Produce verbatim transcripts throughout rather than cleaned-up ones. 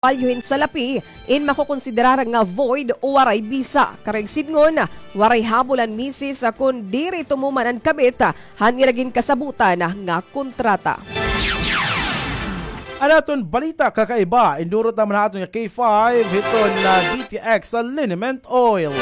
palyo hin salapi, in makokonsiderar nga void o waray bisa. Karuyag sidngon, waray habol an misis kon diri tumuman an kabit han ira ginkasabotan nga kontrata. An aton balita kakaiba, indurot naman ha aton nga K five hiton, ah, D T X sa liniment oil.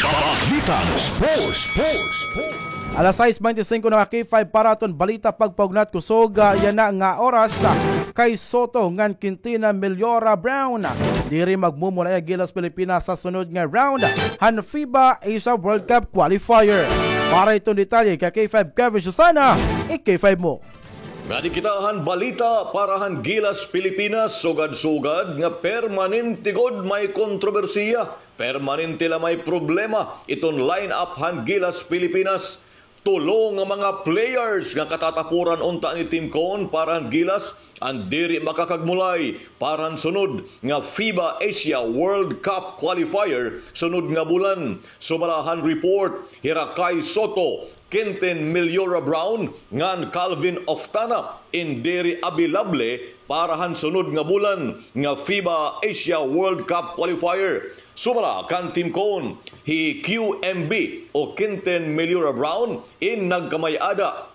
Balitang sports, sports, sports. Alas sais baynte singko na nga K five para aton balita pagpaugnat kusog, ah, yana nga oras, ah, Kai Sotto ngan Quintin Melliora Brown, ah, diri magmumulay ha Gilas Pilipinas sa sunod nga round han FIBA Asia World Cup Qualifier. Para hiton detalye, ka K five Kevin Susana, i-K five mo. Ngadi kita han balita para han Gilas Pilipinas, sugad-sugad nga permanente gud may kontrobersiya, permanente la may problema iton line-up han Gilas Pilipinas. Tulo nga mga players nga katatapuran unta ni Team Cone para han Gilas an diri makakagmulay para han sunod nga FIBA Asia World Cup Qualifier sunod nga bulan. Sumala han report, hira Kai Sotto, Quintin Melliora Brown ngan Calvin Oftana in diri abilable para han sunod nga bulan nga FIBA Asia World Cup Qualifier. Sumala kan Team Cone, hi Q M B o Quintin Melliora Brown in nagkamay-ada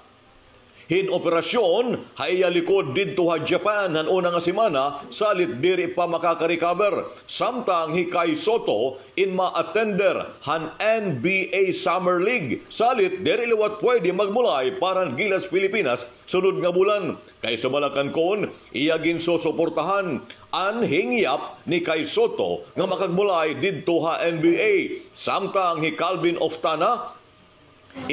hin operasyon ha iya likod didto ha Japan han una nga semana, salit diri pa makaka-recover. Samtang hi Kai Sotto in ma-attender han N B A Summer League, salit diri liwat pwede magmulay para han Gilas Pilipinas sunod nga bulan. Kay sumala kan Cone, iya ginsusuportahan an hingyap ni Kai Sotto nga makagmulay didto ha N B A. Samtang hi Calvin Oftana,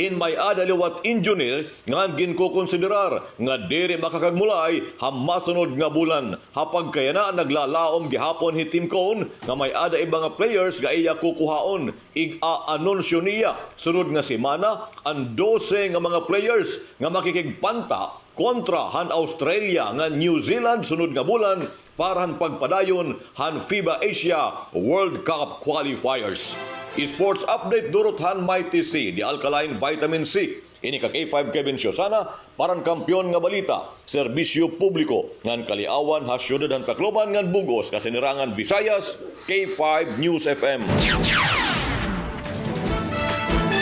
in may-ada liwat injury ngan ginkokonsiderar nga diri makakagmulay ha masunod nga bulan. Ha pagkayana, naglalaom gihapon hi Team Cone nga may-ada iba nga players nga iya kukuhaon. Ig-aanunsyo niya sunod nga semana an dose nga mga players nga makikigpanta kontra han Australia ngan New Zealand sunod nga bulan para han pagpadayon han FIBA Asia World Cup Qualifiers. Sports update durot han Mighty C, the alkaline vitamin C. Ini ka K five Kevin Siosana para han Kampiyon nga Balita, Serbisyo Publiko ngan Kaliawan ha Syudad han Tacloban ngan bug-os nga Sinirangan Visayas, K five News F M.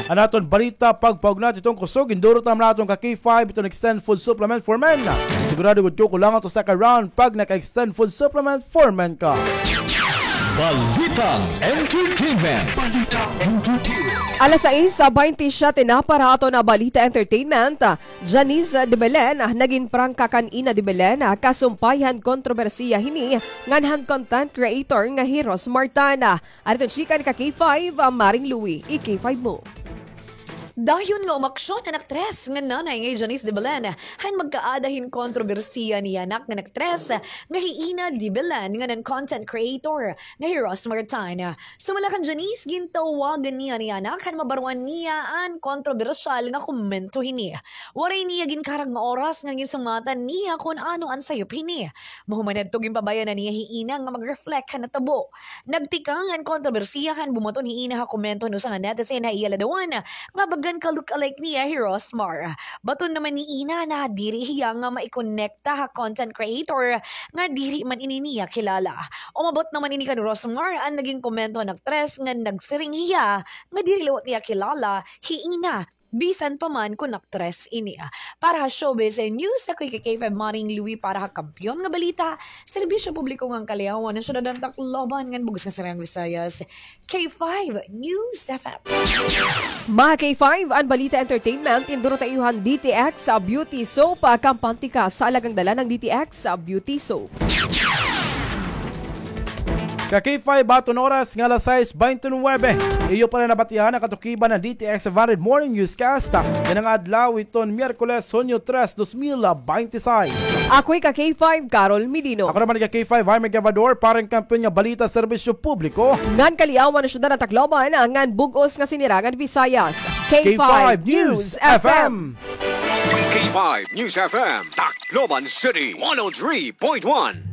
An aton balita pagpaugnat hiton kusog, indurot naman naton ka K five iton Extend Food Supplement for Men. Sigurado gud kukulangan to sa ka round pag naka-Extend Food Supplement for Men ka. Balitang entertainment. Balitang entertainment. Alas sais, ah, baynte siyete na para aton, ah, balita entertainment. Janice de Belen, ah, nagin prangka kan Ina de Belen, ah, kasumpay han kontrobersiya hini ngan han content creator nga hi Rosmar Tan. Adto chika ni ka K five, ah, Maring Louie, i-K five mo. Dayon nga umaksyon an aktres nga nanay nga hi Janice de Belen han magkaada hin kontrobersiya niya anak nga aktres nga hi Ina de Belen ngan an content creator nga hi Rosmar Tan. Sumala kan Janice, gintawagan niya niya anak han mabaroan niya an kontrobersyal nga komento hini. Waray niya ginkarag nga oras nga ginsumatan niya kon ano an sayop hini. Mahuman hadto, ginpabayanan niya hi Ina nga mag-reflect han natabo. Nagtikang an kontrobersiya han bumaton hi Ina ha komento han usa nga netizen ha iya ladawan nga bagan ka-look-alike niya hi Rosmar. Baton naman ni Ina na diri hiya nga maikonekta ha content creator nga diri man ini niya kilala. Umabot naman ini kan Rosmar an nagin komento han aktres nga nagsiring hiya nga diri liwat niya kilala hi Ina, bisan pa man kon aktres ini. Para ha Showbiz News, ako hi ka K five Maring Louie para ha Kampiyon nga Balita, Serbisyo Publiko ngan Kaliawan, Syudad han Tacloban ngan bug-os nga Sinirangan Visayas, K five News F M. Mga K five, an balita entertainment, indurot ha iyo han D T X, ah, Beauty Soap, ah, kampante ka sa alagang dala ng D T X, ah, Beauty Soap. Ka K five, aton oras nga alas sais baynte nuwebe. Iyo pa rin nabatihan an katukiban han D T X five hundred Morning Newscast, ah, yana nga adlaw iton Miyerkules, Hunyo tres, dos mil baynte sais. Ako'y ka K five, Carol Medino. Ako naman ka K five, Jaime Gavador, para han Kampiyon nga Balita, Serbisyo Publiko ngan Kaliawan, Syudad han Tacloban ngan bug-os nga Sinirangan Visayas, K five News F M. K five News F M, Tacloban City, one oh three point one.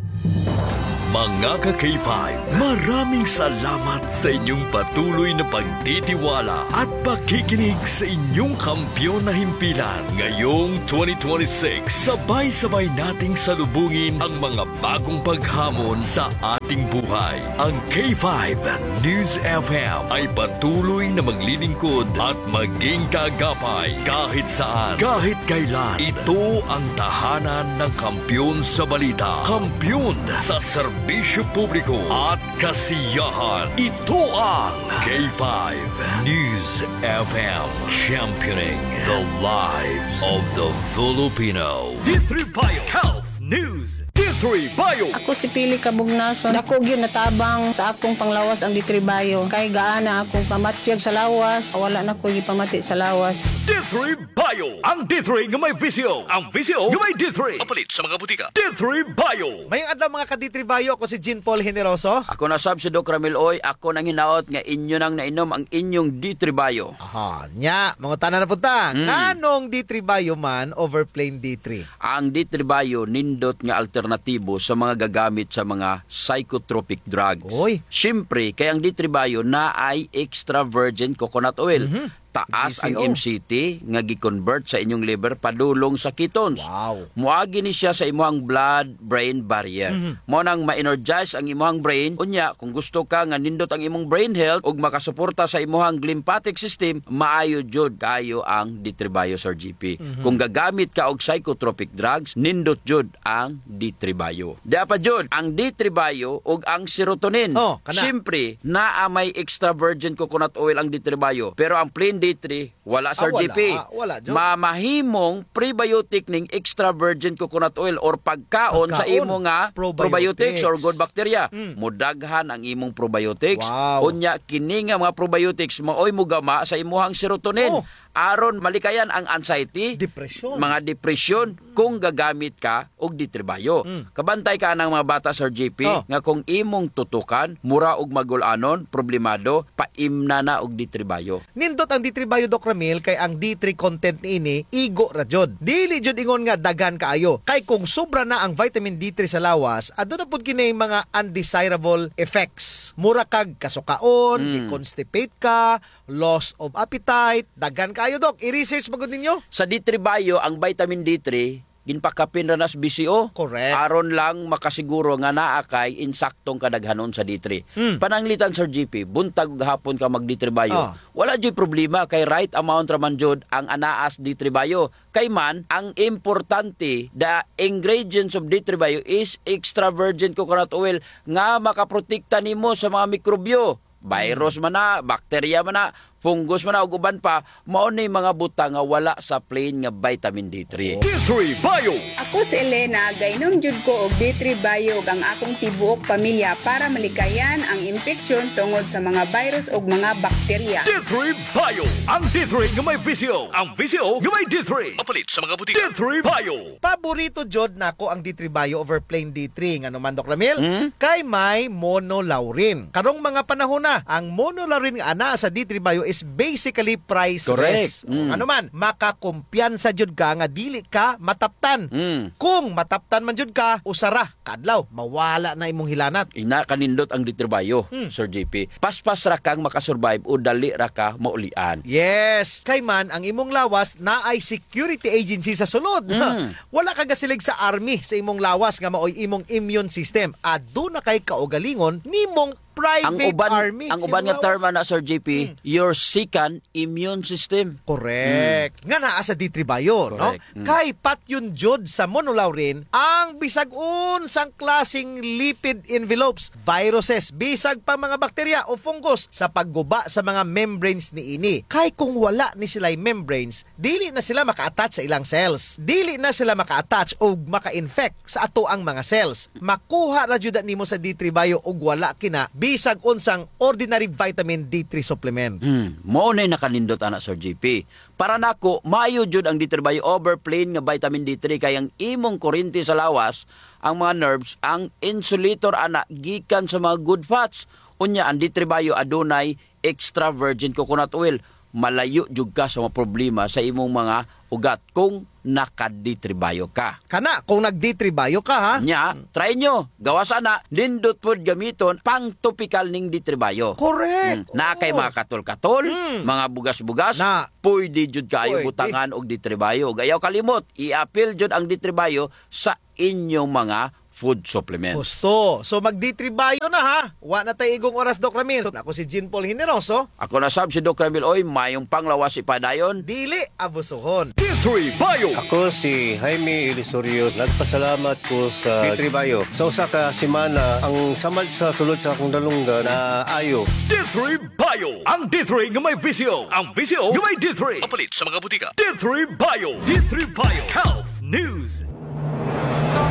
Mga ka-K five, maraming salamat sa inyong patuloy na pagtitiwala at pakikinig sa inyong kampiyon na himpilan. Ngayong twenty twenty-six, sabay-sabay nating salubungin ang mga bagong paghamon sa ating buhay. Ang K five News F M ay patuloy na maglilingkod at maging kaagapay kahit saan, kahit kailan. Ito ang tahanan ng kampiyon sa balita, kampiyon sa serbisyo publiko at kasiyahan. Ito ang K five News F M, championing the lives of the Filipino. D three Bio Health News. D three Bio. Ako si Pili Kabugnason. Dako gyud natabang sa akong panglawas ang D three Bio. Kay gaana akong pamatyag sa lawas, wala na ko gipamati sa lawas. D three Bio. Ang D three nga may V C O. Ang V C O nga may D three. Mapalit sa mga butika. D three Bio. Mayong adlaw, mga ka-D three Bio. Ako si Jean Paul Generoso. Ako na sab si Doc Ramil Oy. Ako nang hinaot nga inyo nang nainom ang inyong D three Bio. Aha, nya, mangutana na pud ta. Hmm. Nganong D three Bio man over plain D three? Ang D three Bio nindot nga alternatibo sa mga gagamit sa mga psychotropic drugs. Oy. Siyempre, kay ang D three Bio naay extra virgin coconut oil. Mhm. Taas ang V C O. M C T nga gi-convert sa inyong liver padulong sa ketones. Wow. Moagi ni siya sa imuhang blood-brain barrier. Mhm. Mao nang ma-energize ang imuhang brain. Unya, kung gusto ka nga nindot ang imong brain health ug makasuporta sa imuhang lymphatic system, maayo jud kaayo ang D three Bio, Sir G P. Mhm. Kung gagamit ka og psychotropic drugs, nindot jud ang D three Bio. Dia pa jud, ang D three Bio ug ang serotonin. Oh, kana. Siyempre, naa may extra virgin coconut oil ang D three Bio, pero ang plain D three, wala, Sir G P. Ah, wala. Wala jud. Mamahimong prebiotic ning extra virgin coconut oil or pagkaon sa imo nga probiotics or good bacteria. Mm. Modaghan ang imong probiotics. Wow. Unya, kini nga mga probiotics maoy mogama sa imuhang serotonin. Oh. Aron malikayan ang anxiety, mga depresyon, kung gagamit ka og D three Bio. Mm. Kabantay ka anang mga bata, Sir G P, nga kung imong tutukan, mura og magul-anon, problemado, paimna na og D three Bio. Nindot ang D three Bio, Doc Ramil, kay ang D three content niini, igo ra jud. Dili jud ingon nga daghan kaayo. Kay kung sobra na ang vitamin D three sa lawas, aduna pud kini mga undesirable effects. Mura kag kasukaon, di-constipate ka, loss of appetite, daghan kaayo, Doc. I-research pa gud ninyo. Sa D three Bio, ang vitamin D three, ginpakapin ra nas V C O. Correct. Aron lang makasiguro nga naa kay insaktong kadaghanon sa D three. Hmm. Pananglitan, Sir G P, buntag ug hapon ka mag D three Bio. Ah. Wala juy problema kay right amount ra man jud ang anaas D three Bio. Kay man, ang importante, the ingredients of D three Bio is extra virgin coconut oil nga makaprotekta nimo sa mga mikrobyo. Virus man na, bakterya man na, fungus man na, ug uban pa, mao ni mga butang nga wala sa plain nga vitamin D three. D three Bio. Ako si Elena, gainom jud ko og D three Bio ug ang akong tibuok pamilya para malikayan ang impeksyon tungod sa mga virus ug mga bakterya. D three Bio. Ang D three nga may V C O. Ang V C O nga may D three. Mapalit sa mga butika. D three Bio. Paborito jud nako ang D three Bio over plain D three. Ngano man, Doc Ramil? Hmm? Kay may monolaurin. Karong mga panahon na, ang monolaurin nga anaa sa D three Bio is basically priceless. Correct. Mm. Ngano man, makakumpiyansa jud ka nga dili ka mataptan. Mm. Kung mataptan man jud ka, usa ra ka adlaw, mawala na imong hilanat. Ina kanindot ang D three Bio, Hmm. Sir G P. Paspas ra kang makasurvive o dali ra ka maulian. Yes. Kay man, ang imong lawas naay security agency sa sulod. Mm. Wala ka gasilig sa army sa imong lawas nga maoy imong immune system. Aduna kay kaugalingon nimong private army. Ang uban nga term ana, Sir G P, your second immune system. Correct. Mm. Nga naa sa D three Bio, no? Correct. Mm. Kay patyon jud sa monolaurin ang bisag unsang klaseng lipid envelopes, viruses, bisag pa mga bakterya o fungus sa pagguba sa mga membranes niini. Kay kung wala ni sila'y membranes, dili na sila maka-attach sa ilang cells. Dili na sila maka-attach o maka-infect sa atoang mga cells. Makuha ra jud na nimo sa D three Bio ug wala kina bisag unsang ordinary vitamin D three supplement. Hmm, mao nay nakanindot ana, Sir G P. Para nako, maayo jud ang D three Bio over plain nga vitamin D three kay ang imong kurente sa lawas, ang mga nerves, ang insulator ana gikan sa mga good fats. Unya, ang D three Bio adunay extra virgin coconut oil. malayo jud ka sa mga problema sa imong mga ugat kung naka-D three Bio ka. Kana, kung nag-D three Bio ka, ha? Nya, try nyo. Gawas ana, nindot pod gamiton, pang-topical ning D three Bio. Correct. Hmm. Naa kay mga katol-katol, mga bugas-bugas, pwede jud kaayo butangan og D three Bio. Ug ayaw kalimot, i-apil jud ang D three Bio sa inyong mga food supplements. Husto. So, mag-D three Bio na, ha? Wa na tay igong oras, Doc Ramil. So, ako si Jean Paul Generoso. Ako na sab si Doc Ramil. Oy, mayong panglawas ipadayon. Dili abusuhon. D three Bio. Ako si Jaime Ilisurios. Nagpasalamat ko sa D three Bio. Sa usa ka semana, ang samad sa sulod sa akong dalunggan naayo. D three Bio. Ang D three nga may visyo. Ang visyo nga may D three. Mapalit sa mga butika. D three Bio. D three Bio. Health News.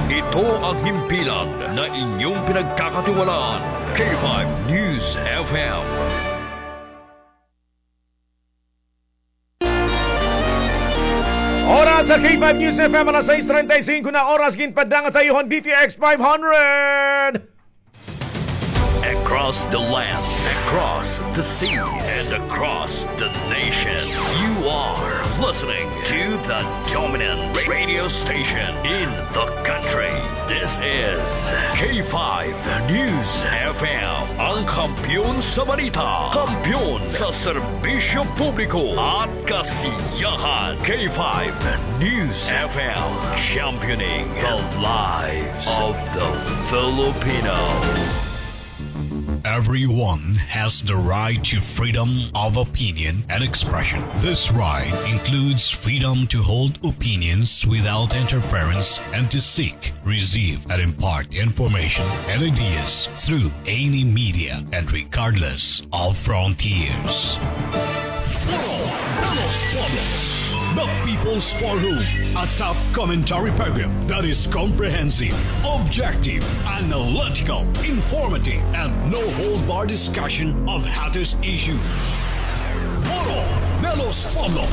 Ito ang himpilan na inyong pinagkakatiwalaan. K five News F M. Oras sa K five News F M, alas sais treinta y cinco na oras, ginpaddangat ha iyo han D T X five hundred. Across the land, across the seas, and across the nation, you are listening to the dominant radio station in the country. This is K five News F M, ang kampiyon sa balita, kampiyon sa serbisyo publiko at kasiyahan. K five News F M, championing the lives of the Filipino. Everyone has the right to freedom of opinion and expression. This right includes freedom to hold opinions without interference and to seek, receive, and impart information and ideas through any media and regardless of frontiers. Foro de los Pueblos, the People's Forum, a top commentary program that is comprehensive, objective, analytical, informative, and no hold bar discussion of hottest issues. Foro de los Pueblos.